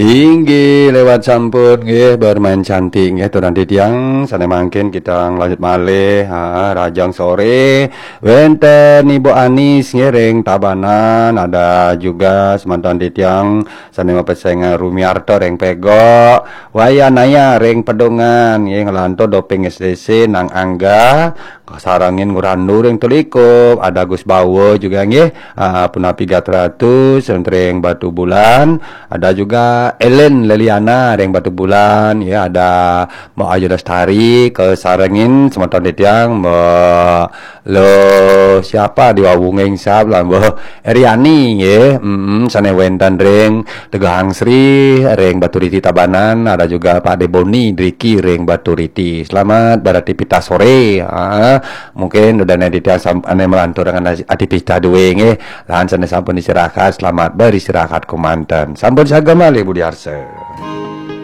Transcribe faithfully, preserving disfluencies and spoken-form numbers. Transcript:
Inggih, lewat sampun nggih, bermain cantik nggih, turan titiang. Sane mangkin kita lanjut malih, ha, rajang sore. Wenten Ibu Anis nggih ring Tabanan, ada juga semanten titiang sane mapeseng Rumiarto ring Pego, Wayanaya ring Pedungan nggih, nglantur doping S D C Nang Angga, sarengin Ngurandu ring Tulikup, ada Gus Bawo juga nggih, ah, punapi Gatratus ring Batubulan, ada juga Ellen Leliana ring Batubulan, ya, ada Mbak Ayu Lestari, kasarengin semeton titiang, Mbak Lo, siapa di wawunging sab lah, Mbak Eriani nggih, mm, sane wenten ring Teguh Angsri ring Baturiti Tabanan, ada juga Pak Deboni Driki ring Baturiti. Selamat beraktivitas sore. Ah, mungkin udah nih titiang sam-, ane melantur dengan aktivitas duwe nggih. Lan sane sampun istirahat, selamat beristirahat kemanten. Sampun sagem malih Budi Arsa.